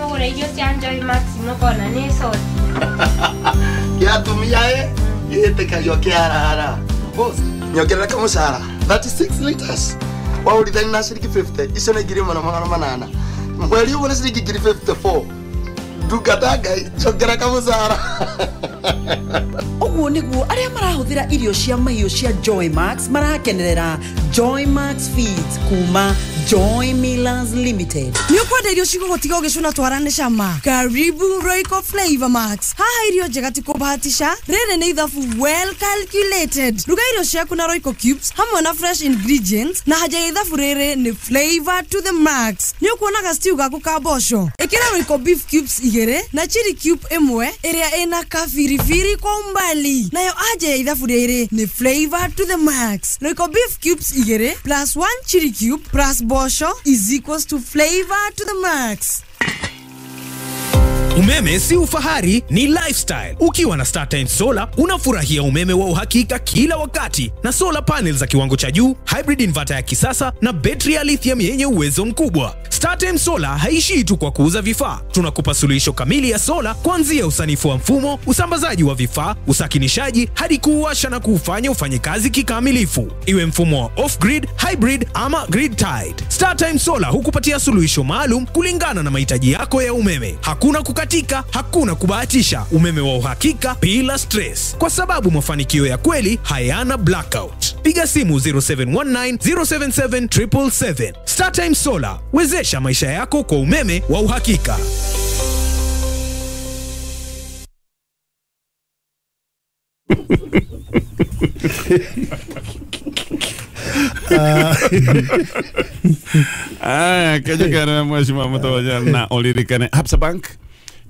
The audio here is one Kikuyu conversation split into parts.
Mũgũre irio cia Joy Max mũkona nĩ soti. Kĩa atumia ĩ gĩtĩkagio kĩarara. Boss, nyongerera kamũcara 36 liters. Waũrithani na ciringi 50, icio nĩ 1800. Mweri ũmwe nĩ ciringi 54. Ndungata Ngai, njongera kamũcara. Ũguo nĩguo arĩa marahũthĩra irio cia mahiũ cia Joy Max marakenerera Joy Max Feeds kuma Joy Millers Limited. Nĩ ũkwenda irio cigũgũtiga ũgĩcũna twara nĩ cama? Karibu Royco Flavor Max. Haha irio njega ti kũbahatisha, rĩrĩ nĩ ithabu well calculated. Ruga irio ciaku na Royco Cubes hamwe na fresh ingredients, na haja ya ithabu rĩrĩ nĩ flavor to the max. Nĩ ũkuonaga stew gaku ka mboco, ĩkĩra Royco beef cubes 2 na chili cube 1 ĩrĩa ĩna kabiribiri kwa umbali, nayo anja ya ithabu rĩrĩ nĩ flavor to the max. Royco beef cubes 2 plus 1 chili cube plus mboco is equals to flavor to the max. Umeme si ufahari, ni lifestyle. Ukiwa na StarTimes Solar unafurahia umeme wa uhakika kila wakati na solar panels za kiwango cha juu, hybrid inverter ya kisasa na betri ya lithium yenye uwezo mkubwa. StarTimes Solar haishii tu kwa kuuza vifaa. Tunakupa suluhisho kamili ya solar kuanzia usanifu wa mfumo, usambazaji wa vifaa, usakinishaji hadi kuuwasha na kuufanya ufanye kazi kikamilifu. Iwe mfumo wa off-grid, hybrid ama grid tied. StarTimes Solar hukupatia suluhisho maalum kulingana na mahitaji yako ya umeme. Hakuna kukatika, hakuna kubahatisha. Umeme wa uhakika bila stress. Kwa sababu mafanikio ya kweli hayana blackout. Piga simu 0719 077 777. StarTimes Solar, wezesha maisha yako kwa umeme wa uhakika. Aya, kejekana mheshimiwa Mutoja na uririkane Absa Bank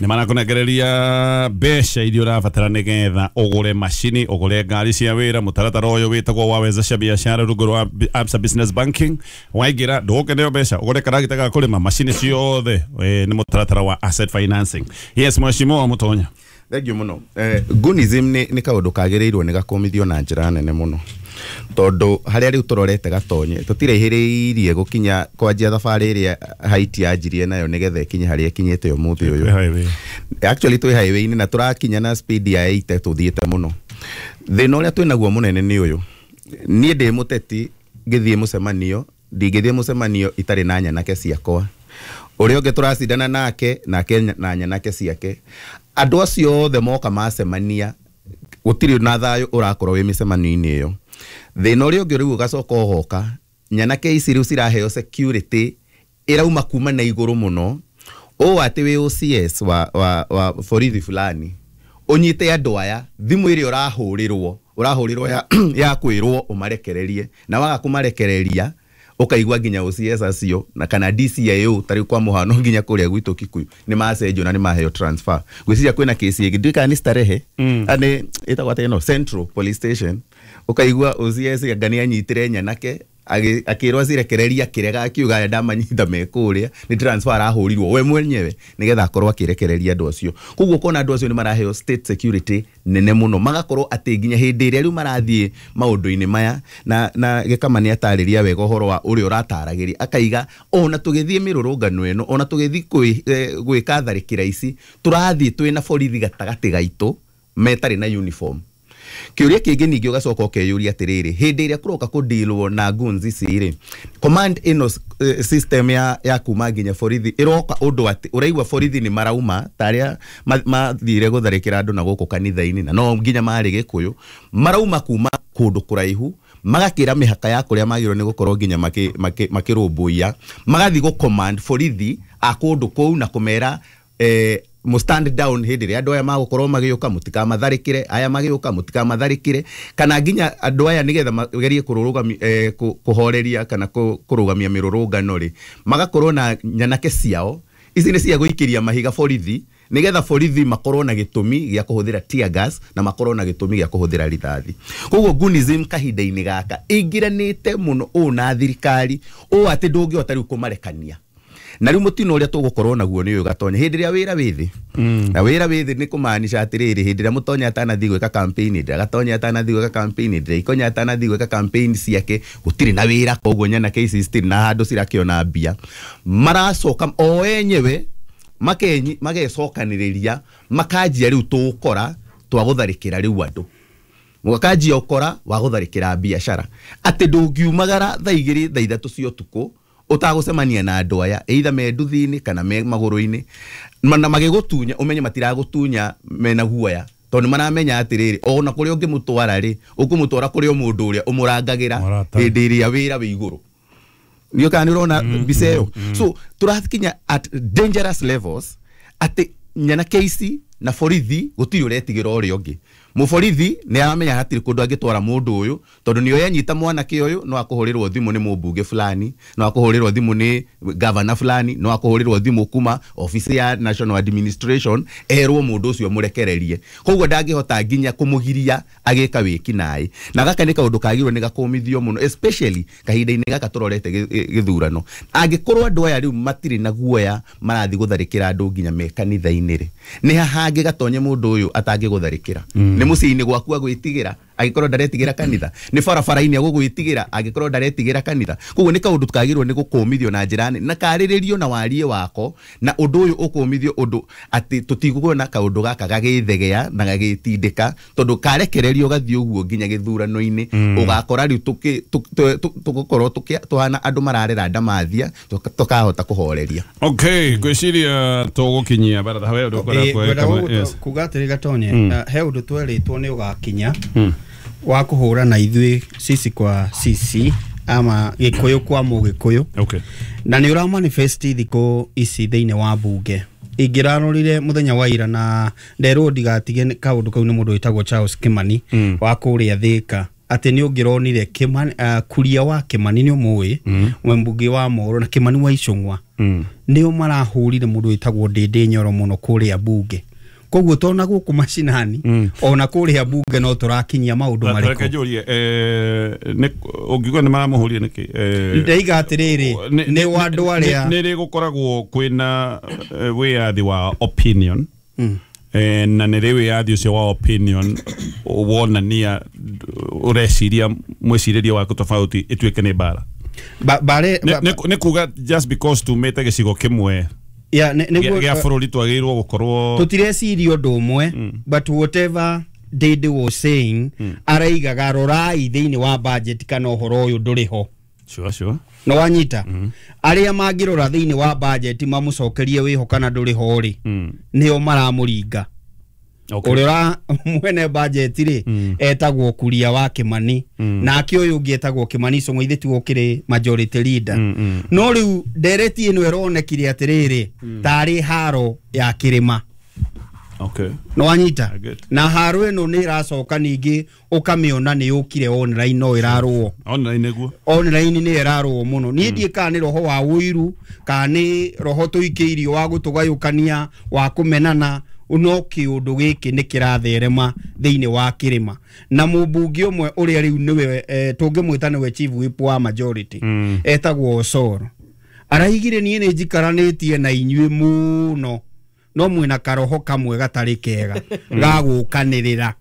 nĩ marakũnengereria mbeca iria ũrabatara nĩgetha ũgũre macini, ũgũre ngari cia wĩra. Mũtaratara ũyũ wĩtagwo wa wezesha biashara rungu rwa Absa Business Banking. Waingĩra ndũgũkeneo mbeca, ũgũre karagita ga kũrĩma, macini ciothe, nĩ mũtaratara wa asset financing. Yes, mheshimiwa Mutonya. Thank you mũno. Gunism nĩ kaũndũ kagĩrĩirwo nĩ gakomithio na njĩra nene mũno, tondũ harĩa rĩu tũrorete gatonye tũtiraihĩrĩirie gũkinya kwanjia thabarĩ ĩrĩa Haiti yanjirie nayo nĩgetha ĩkinye harĩa ĩkinyĩte ũmũthĩ ũyũ. Actually twĩ highway-inĩ na tũrakinya na speed ya 80 tũthiĩte mũno. Thĩna ũrĩa twĩnaguo mũnene nĩ ũyũ, niĩ ndĩ mũteti ngĩthiĩ mũcemanio, ndingĩthiĩ mũcemanio itarĩ na nyanake ciakwa. Ũrĩa ũngĩ tũracindana nake nake na nyanake ciake. Andũ acio othe moka macemania gũtirĩ na thayũ ũrakorwo wĩ mĩcemanio-inĩ ĩyo. Thĩna ũrĩa ũngĩ rĩu ũgacoka ũgoka, nyanake ici rĩu ciraheo security ĩrauma kuma na igũrũ mũno, ũũ atĩ wĩ OCS wa borithi fulani ũnyite andũ aya, thimũ ĩrĩa ũrahũrĩrwo ya kwĩrwo ũmarekererie, na waga kũmarekereria ũkaigua nginya OCS acio na kana DCIO tarĩu kwa mũhano nginya kũrĩa gwitũ Kikuyu nĩ macenjio na nĩ maheo transfer. Ngwĩciria kwĩna kesi ĩngĩ ndiũĩ kana nĩ Starehe, nĩ ĩtagwo atĩa ĩno Central Police Station, ũkaigua OCS anga nĩ anyitire nyanake akĩrwo acirekereria akĩrega akiuga aya ndamanyita me kũrĩa, nĩ transfer arahũrirwo we mwenyewe nĩgetha akorwo akĩrekereria andũ acio. Koguo ũkona andũ acio nĩ maraheo state security nene mũno, magakorwo atĩ nginya hĩndĩ ĩrĩa rĩu marathiĩ maũndũ-inĩ maya, na Gĩkama nĩ atarĩria wega ũhoro wa ũrĩa ũrataragĩria, akaiga ona tũgĩthiĩ mĩrũrũngano ĩno, ona tũgĩthiĩ gwĩka tharĩkĩra ici, tũrathiĩ twĩna borithi gatagatĩ gaitũ metarĩ na uniform. Kĩũria kĩngĩ ningĩ ũgacoka ũkeyũria atĩrĩrĩ, hĩndĩ ĩrĩa kũroka kũdealwo na guns ici rĩ, command ĩno system ya kuma nginya borithi ĩroka ũndũ atĩ ũraigua borithi nĩ marauma ta arĩa mathire gũtharĩkĩra andũ na gũkũ kanitha-inĩ, na no nginya marĩ Gĩkũyũ, marauma kuma kũndũ kũraihu magakĩra mĩhaka ya kũrĩa magĩrĩirwo nĩ gũkorwo nginya makĩrũmbũiya, magathiĩ gũ command borithi a kũndũ kũu na kũmera mu stand down hĩndĩ ĩrĩa andũ aya magũkorwo magĩũka mũtikamatharĩkĩre, aya magĩũka mũtikamatharĩkĩre, kana nginya andũ aya nĩgetha magerie kũhoreria kana kũrũgamia mĩrũrũngano rĩ, magakorwo na nyanake ciao ici nĩ cia gũikĩria mahiga borithi nĩgetha borithi makorwo na gĩtũmi gĩa kũhũthĩra tear gas na makorwo na gĩtũmi gĩa kũhũthĩra rithathi. Koguo gunism kahinda-inĩ gaka ĩingĩranĩte mũno ũũ na thirikari ũũ atĩ ndũngĩhota rĩu kũmarekania. Na rĩu mũtino ũrĩa tũgũkorwo naguo nĩ ũyũ Gatonya, hĩndĩ ĩrĩa wĩra wĩ thĩ, na wĩra wĩ thĩ nĩ kũmaanisha atĩrĩrĩ, hĩndĩ ĩrĩa Mũtonya atanathiĩ gwĩka campaign, hĩndĩ ĩrĩa Gatonya atanathiĩ gwĩka campaign, hĩndĩ ĩrĩa Ikonya atanathiĩ gwĩka campaign ciake, gũtirĩ na wĩra, koguo nyanake ici citirĩ na handũ cirakĩona mbia. Maracoka o enyewe makenyi magecokanĩrĩria makanjia rĩu tũũkora twa gũtharĩkĩra rĩu andũ mũgakanjia ũkora wa gũtharĩkĩra biacara atĩ ndũngiumagara thaa 2 thaa 3 cia ũtukũ ũtagũcemania na andũ aya either me nduthi-inĩ kana me magũrũ-inĩ na magĩgũtunya ũmenye matiragũtunya mena guoya tondũ maramenya atĩrĩrĩ ona kũrĩa ũngĩmũtwara rĩ ũkũmũtwara kũrĩ o mũndũ ũrĩa ũmũrangagĩra hĩndĩ ĩrĩa wĩra wĩ igũrũ nĩ kana nĩ ũrona mbica ĩyo. So tũrakinya at dangerous levels atĩ nyanake ici na borithi gũtirĩ ũretigĩra ũrĩa ũngĩ. Mũborithi nĩ aramenya hatirĩ kũndũ angĩtwara mũndũ ũyũ tondũ nĩoĩ anyita mwanake ũyũ no akũhũrĩrwo thimũ nĩ mũmbunge fulani, no akũhũrĩrwo thimũ nĩ gavana fulani, no akũhũrĩrwo thimũ kuma office ya National Administration erwo mũndũ ũcio mũrekererie. Koguo ndangĩhota nginya kũmũgiria agĩka wĩkinaĩ. Na gaka nĩ kaũndũ kagĩrĩirwo nĩ gakũmithio mũno especially kahinda-inĩ gaka tũrorete gĩthurano. Angĩkorwo andũ aya rĩu matirĩ na guoya marathiĩ gũtharĩkĩra andũ nginya me kanitha-inĩ rĩ, nĩ haha angĩgatonye mũndũ ũyũ atangĩgũtharĩkĩra? Nĩ mũciĩ-inĩ gwaku agwĩtigĩra angĩkorwo ndaretigĩra kanitha, nĩ barabara-inĩ agũgwĩtigĩra angĩkorwo ndaretigĩra kanitha. Koguo nĩ kaũndũ kagĩrĩirwo nĩ gũkũmithio na njĩra nene na karĩrĩrio na warie wako, na ũndũ ũyũ ũkũmithio ũndũ atĩ tũtiguona kaũndũ gaka gagĩthegea na gagĩtindĩka tondũ karekererio gathiĩ ũguo nginya gĩthurano-inĩ ũgakora rĩu tũgũkorwo tũhana andũ mararera ndamathia tũkahota kũhoreria. Okay, ngwĩciria tũgũkinyia baratha we ũndũ ũkwenda kuga atĩrĩ Gatonye, he ũndũ twerĩtwo nĩ ũgakinya wa kũhũra na ithuĩ sisi kwa sisi ama Gĩkũyũ kwa Mũgĩkũyũ. Okay. Na nĩ ũra manifest thikũ ici thĩinĩ wa bunge. Ingĩrarorire mũthenya wa ira na nderwo ndigatige kaũndũ kau nĩ mũndũ wĩtagwo Charles Kimani wa kũrĩa Thĩka atĩ nĩ ũngĩronire Kimani, Kuria wa Kimani nĩ ũmũĩ, mbunge wa Moro na Kimani wa Icũng'wa nĩo marahũrire mũndũ wĩtagwo Ndĩndĩ Nyoro mũno kũrĩa bunge. Koguo tona gũkũ macinani ona kũrĩa bunge no tũrakinyia maũndũ marĩkũ. Reke njũrie nĩ ũngiuga nĩ maramũhũrire nĩkĩ? Ndaiga atĩrĩrĩ nĩ wa andũ arĩa nĩ rĩ gũkoragwo kwĩna wĩyathi wa opinion na nĩ rĩ wĩyathi ũcio wa opinion wonania ũreciria mwĩcirĩrie waku tofauti ĩtuĩke nĩ mbara. Nĩ kuga just because tumĩte gĩcigo kĩmwe ya gĩa bũrũri twagĩrĩirwo gũkorwo tũtireciria ũndũ ũmwe, but whatever Ndĩndĩ was saying araigaga rorai thĩinĩ wa budget kana ũhoro ũyũ ndũrĩ ho. Sure, sure. No wanyita arĩa mangĩrora thĩinĩ wa budget mamũcokerie wĩho kana ndũrĩ ho rĩ, nĩo maramũringa. Ũrĩa mwene budget rĩ etagwo Kuria wa Kimani, nake ũyũ ũngĩ etagwo Kimani Icũng'wa ithe tiwe ũkĩrĩ majority leader. No rĩu ndereti ĩno ĩronekire atĩrĩrĩ tarĩ haro ya kĩrĩma. Okay. No wanyita na haro ĩno nĩ ĩracoka ningĩ ũkamĩona nĩ yũkire online no ĩrarũo online nĩguo online nĩ ĩrarũo mũno. Niĩ ndiĩ kana nĩ roho wa ũiru kana nĩ roho tũikĩirio wa gũtũgayũkania wa kũmenana, no kĩũndũ gĩkĩ nĩ kĩratherema thĩinĩ wa kĩrĩma. Na mũmbunge ũmwe ũrĩa rĩu nĩwe tũngĩmwĩta nĩwe chief whip wa majority etagwo Osoro araigire niĩ nĩ njikaranĩtie na inyuĩ mũno no mwĩna karoho kamwe gatarĩ kega ga gũkanĩrĩra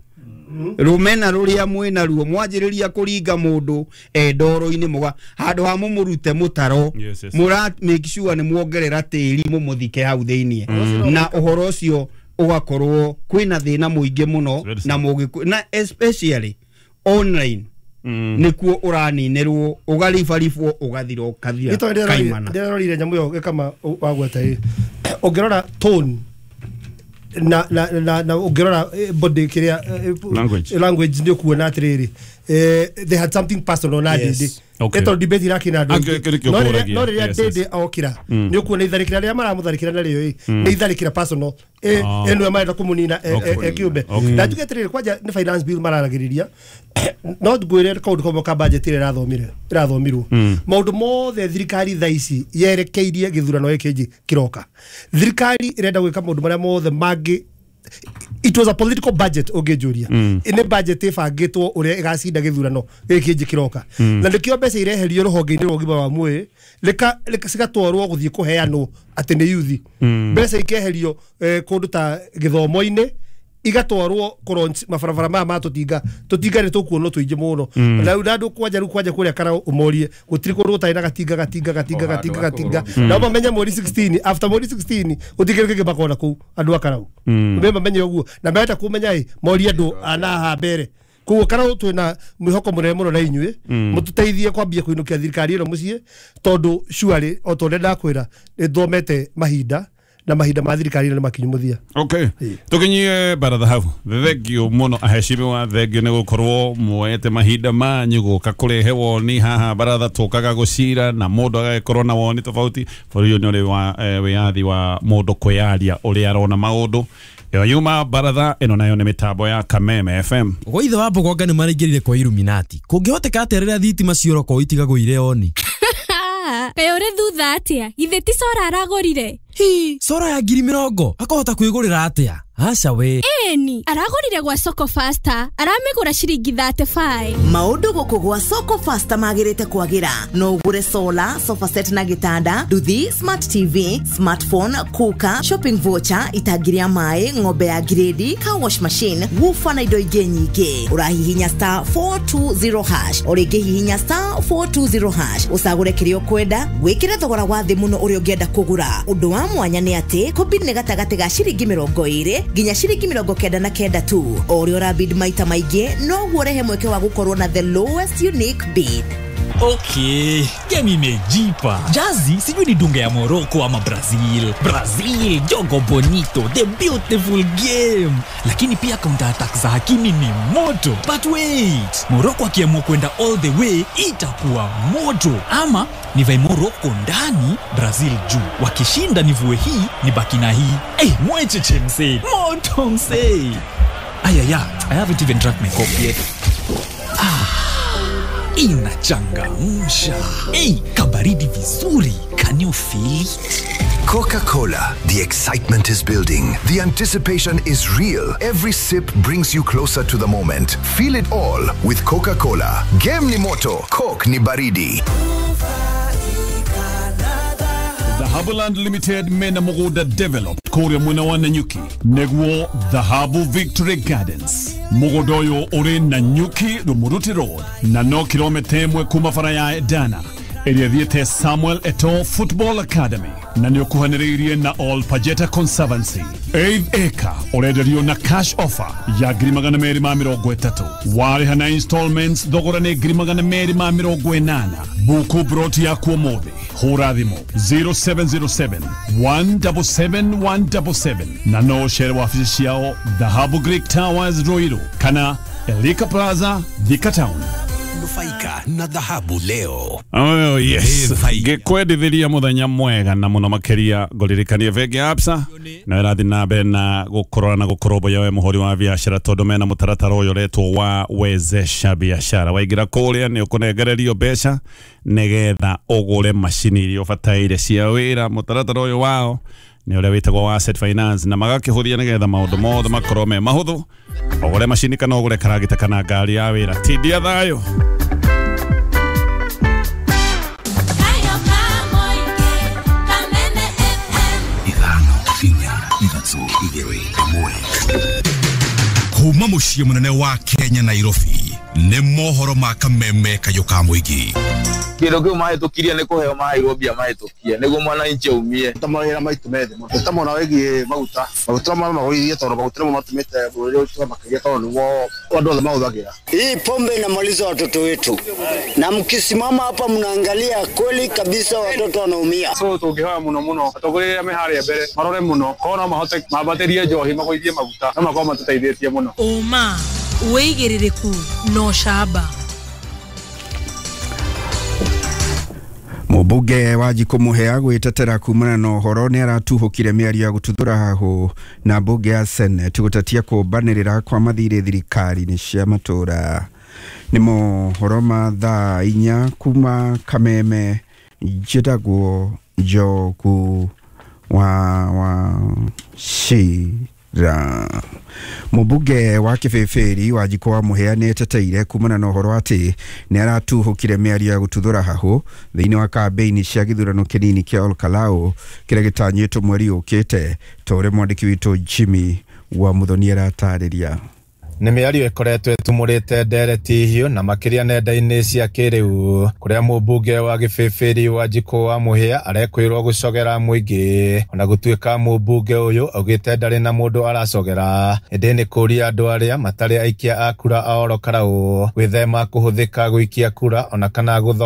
rũmena rũrĩa mwĩna ruo mwanjĩrĩria kũringa mũndũ ndoro-inĩ mũga handũ ha mũmũrute mũtaro mũra make sure nĩ muongerera tĩri mũmũthike hau thĩinĩ, na ũhoro ũcio ũgakorwo kwĩna thĩna mũingĩ mũno na mũgĩkũ na especially online nĩkuo ũraninĩrwo ũgaribaribwo ũgathira ũkathira kaimana. Ndĩrorire nyamũ ĩyo gĩkama wagweta ĩ ũngĩrora tone na na na na ũngĩrora body kĩrĩa language nĩ ũkuona atĩrĩrĩ they had something personal na Ndĩndĩ. Ĩtondũ debate irakina andũ aingĩ no rĩrĩa Ndĩndĩ okĩra nĩ ũkuona itharĩkĩra rĩrĩa maramũtharĩkĩra narĩo ĩ nĩ itharĩkĩra personal ĩno marenda kũmũnina kĩũmbe. Na njuge atĩrĩrĩ kwanja nĩ finance bill mararagĩrĩria no ngwĩre kaũndũ kamwe ka budget ĩrĩa ĩrathomirwo maũndũ mothe thirikari thaa ici yerekeirie gĩthurano gĩkĩ kĩroka. Thirikari ĩrenda gwĩka maũndũ marĩa mothe mangĩ. It was a political budget ũngĩnjũria nĩ budget ĩbangĩtwo ũrĩa ĩgacinda gĩthurano gĩkĩ kĩroka, na nĩkĩo mbeca ireherio rũhonge-inĩ rwa ũgima wa mwĩrĩ cigatwarwo gũthiĩ kũheanwo atĩ nĩ yuthi, mbeca ikeherio kũndũ ta gĩthomo-inĩ Igatwarwo kũlaunch mabarabara maya ma tũtinga tũtinga nĩ tũkuonwo tũingĩ mũno. Na rĩu na andũ kwanja rĩu kwanja kũrĩa kana ũmorie gũtirĩ kũndũ gũtarĩ na gatinga gatinga gatinga gatinga gatinga. Na mamenye mweri 16, after mweri 16 gũtikĩrĩ kĩngĩ makona kũu andũ a Karau. Me mamenye ũguo na menda kũmenya ĩ morie andũ ana haha mbere. Koguo Karau twĩna mwĩhoko mũnene mũno na inyuĩ mũtũteithie kwambia kũinũkia thirikari ĩno mũciĩ tondũ surely o ta ũrĩa ndakwĩra nĩthomete mahinda na mahinda ma thirikari ĩno nĩ makinyu mũthia. Okay. Tukinyie baratha hau. Thengio muno aheshimiwa, thengio nĩ gũkorwo muoete mahinda manyu gũka kũrehe woni haha baratha tũkaga gũcira na mũndũ agagĩkorwo na woni tofauti. Bũrũri ũyũ nĩ ũrĩ wa wĩyathi wa mũndũ kwĩyaria ũrĩa arona maũndũ. Ĩyo yuma baratha ĩno nayo nĩ mĩtambo ya Kameme FM. Gwa ithe wa Mbogonga nĩ maraingĩrire kwa Illuminati. Kũngĩhoteka atĩa rĩrĩa thitima ciorokwo itigagũire oni? Kaĩ ũrĩ thutha atĩa? Githĩ ti Sora aragũrire? Hi, Sora ya 20,000 akahota kwĩgũrĩra atĩa? Aca we. Ĩni, aragũrire gwa Soko Faster, aramĩgũra ciringi 35. Maũndũ gũkũ gwa Soko Faster magĩrĩte kwagĩra. No ũgũre solar, sofa set na gĩtanda, nduthi, smart TV, smartphone, cooker, shopping voucher, itangi rĩa maĩ, ng'ombe ya grade, car wash machine, woofer na indo ingĩ nyingĩ. Ũrahihinya star 420 hash, o rĩngĩ hihinya star 420 hash, ũcagũre kĩrĩa ũkwenda, wĩkĩre thogora wa thĩ mũno ũrĩa ũngĩenda kũgũra. Ũndũ wa mwanya nĩ atĩ kũbid nĩ gatagatĩ ga ciringi 20 nginya ciringi 99 tu. O ũrĩa ũrabid maita maingĩ noguo ũrehe mweke wa gũkorwo na the lowest unique bid. Okay, game imejipa. Jazi sijui ni dunga ya Morocco ama Brazil. Brazil, jogo bonito, the beautiful game. Lakini pia counter attack za Hakimi ni moto. But wait, Morocco akiamua kwenda all the way itakuwa moto. Ama nivae Morocco ndani, Brazil juu. Wakishinda nivue hii, nibaki na hii. Eh, mwecheche msee. Moto msee. Ayaya, I haven't even drank my coffee yet. Inachangamsha. Hey, kabaridi vizuri. Can you feel it? Coca-Cola. The excitement is building. The anticipation is real. Every sip brings you closer to the moment. Feel it all with Coca-Cola. Game ni moto, Coke ni baridi. Dhahabuland Limited mena mugunda developed kuria mwena wa Nanyuki neguo Dhahabu Victory Gardens. Mugunda uyu uri Nanyuki Rumuruti Road na no kilomita 1 kuma bara ya Edana ĩrĩa thiĩte Samuel Eto'o Football Academy na nĩ ũkuhanĩrĩirie na All Pajeta Conservancy. 8 acre ũrenderio na cash offer ya 230,000. Warĩha na installments thogora nĩ 280,000. Buku broti yaku ũmũthĩ. Hũra thimũ 0707 177 177 na no ũcere wabici ciao Dhahabu Greek Towers Ruiru kana Elika Plaza Thika Town. Nufaika na dhahabu leo. Oh yes. Ngikwendithiria muthenya mwega na muno makiria ngoririkanie bengi ya Absa na irathi na mbere na gukorora na gukoromboya we muhuri wa biashara tondu mena mutaratara uyu uretwo wa wezesha biashara. Waingira kuria ni ukunengererio mbeca nigetha ugure macini iria ubataire cia wira. Mutaratara uyu wao ni uria witagwo wa asset finance na magakihuthia nigetha maundu mothe makorwo me mahuthu. Ugure macini kana ugure karagita kana ngari ya wira. Tindia thayo. Kuma muciĩ mũnene wa Kenya Nairobi nĩ mohoro ma Kameme kayũ ka mũingĩ. Kĩndũ kĩu mahĩtũkirie nĩ kũheo maheirwo mbia mahĩtũkie nĩguo mwananchi aumie. Ta mawĩra maitũ methe mũno. Ta mwena wĩgiĩ maguta. Maguta magũithie tondũ maguta nĩmo matũmĩte bũrũri ũyũ makĩria tondũ nĩguo andũ othe mahũthagĩra. Hii pombe inamaliza watoto wetu, na mkisimama hapa mnaangalia kweli kabisa watoto wanaumia. So tũngĩhoya mũno mũno atongoria arĩa me harĩa mbere marore mũno korwo no mahote mambatĩrie njohi magũithie maguta no makorwo matũteithĩtie mũno. Ũma, wĩigĩrĩrĩku na ũcamba. Mũmbunge wa Njikũ Mũhĩa gwĩtetera kumana na ũhoro nĩ aratuhũkire mĩario ya gũtuthũra hahũ na mbunge ya Senate gũtetia kũmbanĩrĩra kwa mathirĩ thirikari-inĩ cia matũra. Nĩ mohoro ma thaa 4 kuma Kameme. Njĩtagwo Njogu wa Wachira. Mũmbunge wa Kĩbĩbĩri wa Njikũ wa Mũhĩa nĩ eteteire kumana na ũhoro atĩ nĩ aratuhũkire mĩario ya gũtuthũra hahũ thĩinĩ wa kambĩini cia gĩthurano kĩnini kĩa Olkalau kĩrĩa gĩtanyĩtwo mweri ũkĩte ta ũrĩa mwandĩki witũ Jimmy Wa Muthoni aratarĩria. Nĩ mĩario ĩkoretwo ĩtumũrĩte ndereti hiũ na makĩria nenda-inĩ cia kĩrĩu, kũrĩa mũmbunge wa Gĩbĩbĩri Wanjikũ wa Mũhĩa arekwĩrwo gũcogera mũingĩ, ona gũtuĩka mũmbunge ũyũ augĩte ndarĩ na mũndũ aracogera, ĩndĩ nĩ kũria andũ arĩa matarĩ aikia a kura a Oro Karau gwĩthema kũhũthĩka gũikia kura ona kana gũthoga.